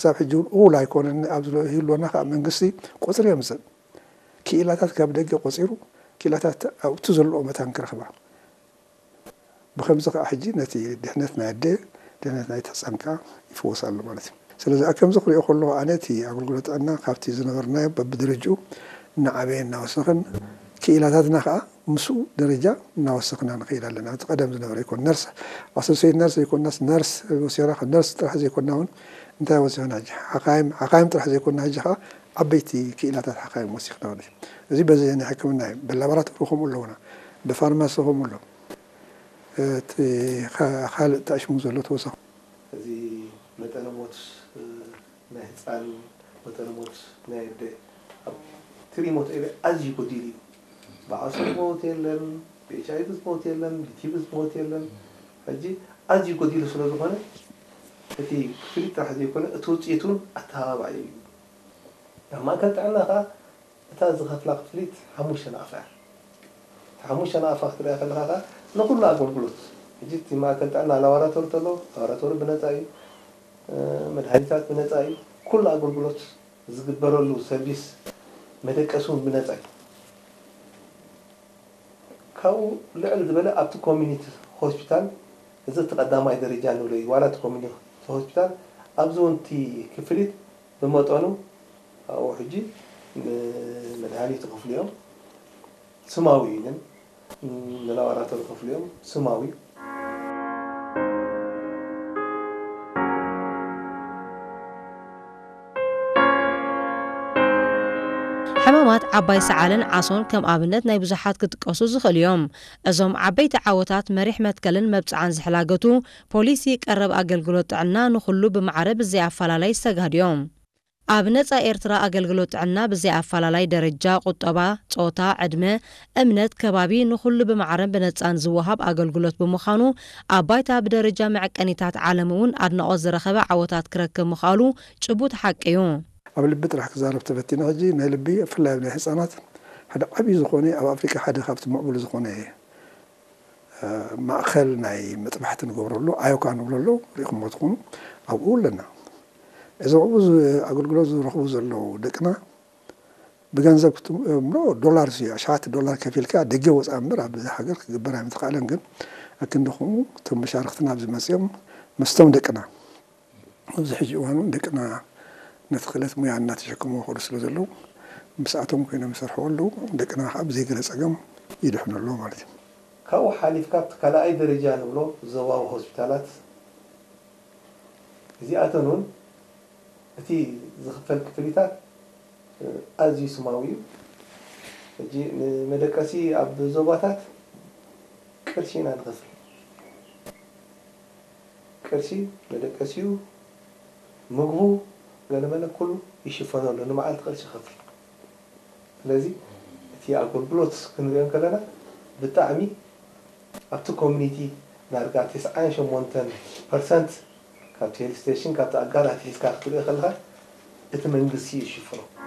ክሳብ ሕጂ እውን እኹል ኣይኮነን። ኣብ ዝሎ-፣ ህልወና ከዓ መንግስቲ ቁፅሪ የምፅእ። ክኢላታት ካብ ደገ ቆፂሩ፣ ክኢላታት ኣብቲ ዘለዎ መታን ክረኽባ። ብኸምዚ ከዓ ሕጂ ነቲ ድሕነት ናይ ኣደ፣ ድሕነት ናይ ህፃን ከዓ ይፍወስ ኣሎ ማለት እዩ። ስለዚ ኣብ ከምዚ ክሪኦ ከለኹ ኣነ እቲ ኣገልግሎት ጥዕና ካብቲ ዝነበርናዮ በብደረጅኡ እናዓበየ እናወሰኸን ክኢላታትና ከዓ ምስኡ ደረጃ እናወሰኽና ንኸይድ ኣለና። እቲ ቀደም ዝነበረ ይኮን ነርስ፣ ኣሶሲየት ነርስ ዘይኮናስ ነርስ ወሲኽና፣ ካብ ነርስ ጥራሕ ዘይኮና እውን እንታይ ወሲኽና ሕጂ? ሓኻይም፣ ሓኻይም ጥራሕ ዘይኮና ሕጂ ከዓ ዓበይቲ ክኢላታት ሓኻይም ወሲኽና ማለት እዩ። እዚ በዚ ናይ ሕክምና እዩ። ብላቦራቶሪ ከምኡ ኣለውና፣ ብፋርማሲ ከምኡ ኣሎ። እቲ ካ-፣ ካልእ ተኣሽሙ ዘሎ ተወሳኺ። እዚ መጠነ ሞት፣ እ፣ ናይ ህፃን፣ መጠነ ሞት ናይ ኣደ፣ ኣብ ትሪ ሞት ኤበ ኣዝዩ ጎዲሉ እዩ። ብዓሶ ዝመውት የለን፣ ብኤች ኣይ ቪ ዝመውት የለን፣ ብቲ ቢ ዝመውት የለን። ሕጂ ኣዝዩ ጎዲሉ ስለ ዝኾነ፣ እቲ ክፍሊት ጥራሕ ዘይኮነ፣ እቲ ውፅኢት እውን ኣተባባዒ እዩ። ኣብ ማእከል ጥዕና ከዓ እታ ዝኸፍላ ክፍሊት ሓሙሽተ ናቕፋ እያ። እታ ሓሙሽተ ናቕፋ ክትሪኣ ከለኻ ከዓ ንኹሉ ኣገልግሎት፣ ሕጂ እቲ ማእከል ጥዕና ላቦራቶሪ ተሎ፣ ላቦራቶሪ ብነጻ እዩ፣ እ፣ መድሃኒታት ብነጻ እዩ፣ ኩሉ ኣገልግሎት ዝግበረሉ ሰርቪስ መደቀሲ እውን ብነጻ እዩ። ካብኡ ልዕል ዝበለ ኣብቲ ኮሚኒቲ ሆስፒታል፣ እዚ እቲ ቀዳማይ ደረጃ ንብሎ እዩ፣ ዋላ እቲ ኮሚኒቲ ሆስፒታል ኣብዚ እውን እቲ ክፍሊት ብመጠኑ ኣብኡ ሕጂ ንመድሃኒት ይኸፍሉ እዮም፣ ስማዊ እዩ ግን ንላቦራቶሪ ይኸፍሉ እዮም፣ ስማዊ እዩ። ሕማማት ዓባይ ሰዓልን ዓሶን ከም ኣብነት ናይ ብዙሓት ክጥቀሱ ዝኽእሉ እዮም። እዞም ዓበይቲ ዓወታት መሪሕ መትከልን መብጽዓን ዝሕላገቱ፣ ፖሊሲ ቀረብ ኣገልግሎት ጥዕና ንኹሉ ብማዕረ ብዘይ ኣፈላላይ ዝተጋህዱ እዮም። ኣብ ነጻ ኤርትራ ኣገልግሎት ጥዕና ብዘይ ኣፈላላይ ደረጃ፣ ቁጠባ፣ ጾታ፣ ዕድመ፣ እምነት፣ ከባቢ ንኹሉ ብማዕረን ብነጻን ዝወሃብ ኣገልግሎት ብምዃኑ ኣብ ባይታ ብደረጃ መዐቀኒታት ዓለም እውን ኣድናቖት ዝረኸበ ዓወታት ክረክብ ምኽኣሉ ጭቡጥ ሓቂ እዩ። ኣብ ልቢ ጥራሕ ክዛረብ ተፈቲነ ሕጂ ናይ ልቢ ብፍላይ ኣብ ናይ ህፃናት ሓደ ዓብዪ ዝኾነ ኣብ ኣፍሪካ ሓደ ካብቲ ምዕቡል ዝኾነ ማእኸል ናይ መጥባሕቲ ንገብረሉ ኣዮካ ንብለሉ ሪኢኹሞ ትኾኑ ኣብኡ ኣለና። እዞም ኣብኡ ኣገልግሎት ዝረኽቡ ዘለዉ ደቅና ብገንዘብ ክትብሎ ዶላር እዩ ኣሽሓት ዶላር ከፊልካ ደገ ወፃእ እምበር ኣብዚ ሃገር ክግበር ኣይምተኻእለን ግን ኣክንዲ ከምኡ እቶም መሻርክትና ኣብዚ መፅኦም ምስቶም ደቅና ኣብዚ ሕጂ እዋን እውን ደቅና ነቲ ክእለት ሙያ እናተሸከሙ ይኸዱ ስለ ዘለዉ ምስኣቶም ኮይኖም ይሰርሕዎ ኣለዉ ደቅና ከዓ ብዘይ ገለ ፀገም ይድሕኑ ኣለዉ ማለት እዩ። ካብኡ ሓሊፍካ ኣብቲ ካልኣይ ደረጃ ንብሎ ዞባዊ ሆስፒታላት እዚኣተን እውን እቲ ዝኽፈል ክፍሊታት ኣዝዩ ስማዊ እዩ። ሕጂ ንመደቀሲ ኣብ ዞባታት ቅርሺ ኢና ንኸፍል። ቅርሺ መደቀሲኡ፣ ምግቡ፣ ገለመለ ኩሉ ይሽፈነሉ፣ ንመዓልቲ ቅርሺ ይኸፍል። ስለዚ እቲ ኣገልግሎት ክንሪኦ እንከለና ብጣዕሚ ኣብቲ ኮሚኒቲ ዳርጋ ተስዓን ሸሞንተን ፐርሰንት ካብቲ ሄልት ስቴሽን ካብቲ ኣጋር ኣትሒዝካ ክትሪኦ ከለኻ እቲ መንግስቲ እዩ ዝሽፍኖ።